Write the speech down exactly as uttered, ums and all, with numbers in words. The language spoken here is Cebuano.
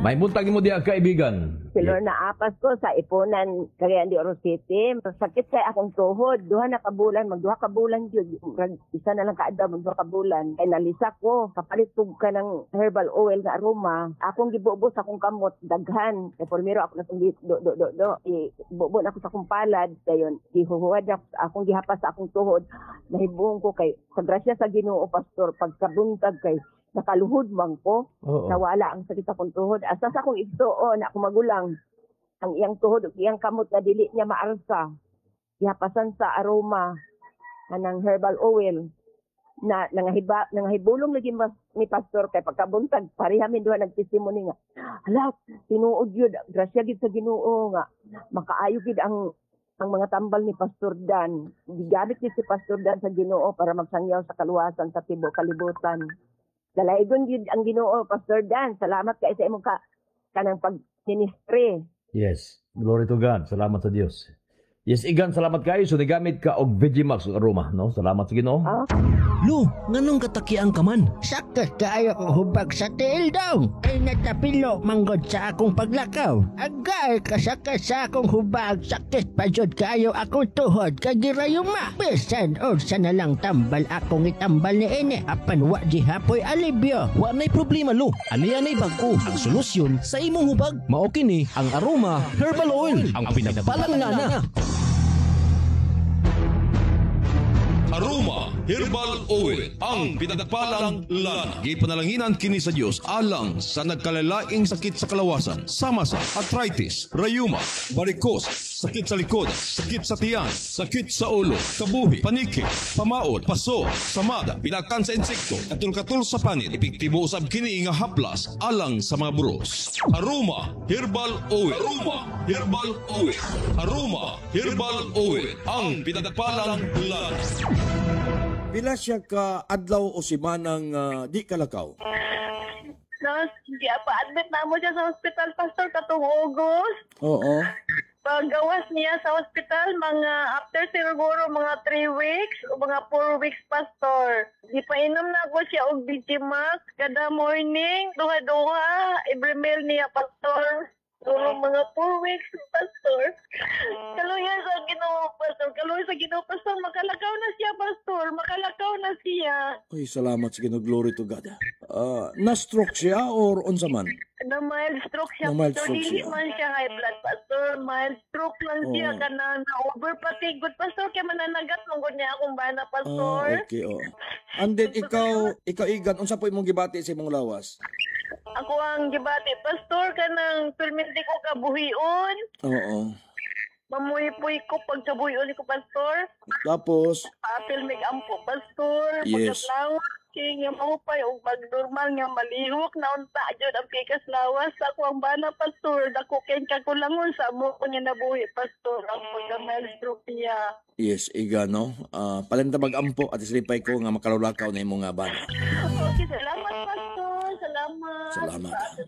May buntag mo diha, kaibigan. Si Lorna Apas ko sa Iponan, Cagayan de Oro City. Sakit kay akong tuhod. Duha na ka bulan, magduha ka bulan jud. Murag isa na lang kaadlaw, magduha ka bulan. Ay nalisa ko, kapalit kog ka ng herbal oil nga aroma. Akong gibubo sa akong kamot, daghan. Kay pormiro ako na do do do do. Ibubo na ako sa akong palad. Dayon, gihuhuwad na akong gihapas sa akong tuhod. Nahibuong ko kay sa grasya sa Ginoo, pastor, pagkabuntag kay nakaluhod man ko. Oo. Nawala ang sakit akong tuhod. Asa sa akong igsuon, ako magulang, ang iyang tuhod ug iyang kamot na dili niya maarsa. Gihapasan sa aroma anang herbal oil na nangahiba nangahibulong lagi mas ni pastor kay pagkabuntag pareha min duha nagtestimony nga, "Hala, tinuod yun, grasya gid sa Ginoo nga makaayo gid ang ang mga tambal ni Pastor Dan. Gigamit gid si Pastor Dan sa Ginoo para magsangyaw sa kaluwasan sa tibuok kalibutan. Dalaygon gid ang Ginoo, Pastor Dan. Salamat kay sa imong ka kanang pag-ministry." Yes. Glory to God. Salamat sa Dios. Yes, Igan, salamat kayo. So, nigamit ka og Vegimax ug aroma, no? Salamat sa Ginoo. Ah. Lo, nganong katakiang ka man? Sakit kaayo ko hubag sa tiil daw. Ay natapilo manggod sa akong paglakaw. Agay kasakit sa akong hubag. Sakit pa jud kaayo akong tuhod kay girayuma. Bisan unsa na lang tambal akong itambal ni ini. Apan wa di hapoy alibyo. Wa na'y problema, Lo. Ani anay bag-o ang solusyon sa imong hubag. Mao kini ang Aroma Herbal Oil, ang pinagpalang lana. Aroma Herbal Oil, ang pinagpalang lana. Gipanalanginan kini sa Dios alang sa nagkalalaing sakit sa kalawasan, sama sa arthritis, rayuma, varicose, sakit sa likod, sakit sa tiyan, sakit sa ulo, kabuhi, paniki, pamaod, paso, samada, pilakan sa insekto, katul-katul sa panit. Epektibo usab kini nga haplas alang sa mga buros. Aroma Herbal Oil. Aroma Herbal Oil. Aroma Herbal Oil, ang pinagpalang lana. Pila siya ka adlaw o simanang ah, di kalakaw? Tapos, di pa-admit na mo siya sa hospital, Pastor, katong August. Oo. Paggawas niya sa hospital, mga after siguro mga three weeks o mga four weeks, Pastor. Di pa inom na ako siya og Digimax kada morning, duha-duha, every meal niya, Pastor. Siguro mga four weeks, Pastor. Kaluya sa Ginoo, Pastor. Kaluya sa Ginoo, Pastor. Makalakaw na siya, Pastor. Makalakaw na siya. Uy, salamat sa Ginoo. Glory to God. Ah, na-stroke siya or unsa man? Na mild stroke siya, Na mild Pastor. stroke Dili siya. man siya high blood, Pastor. Mild stroke lang siya Oo. kana na over fatigue. Good, Pastor, kaya mananagat man gud niya akong bana, Pastor. Ah, okay, oo. And then ikaw, ikaw Igan, unsa po imong gibati sa imong lawas? Ako ang gibati, Pastor, kanang perminti ko kabuhion. Oo. Mamuhipuy ko pag kabuhion ko, Pastor. Tapos, Paapil mig ampo, Pastor. Yes. Pagkatlawas, kay nga mahupay og pag normal nga malihok na unta jud ang pikas lawas sa ako ang bana, Pastor. Dako kay kakulangon sa amo ko niya nabuhi, Pastor, ang pagka mild stroke niya. Yes, Igan, no? Ah, palinta mag-ampo at isilipay ko nga makalulakaw na imong nga bana. Okay, salamat, Pastor. Salamat. Salamat. Sa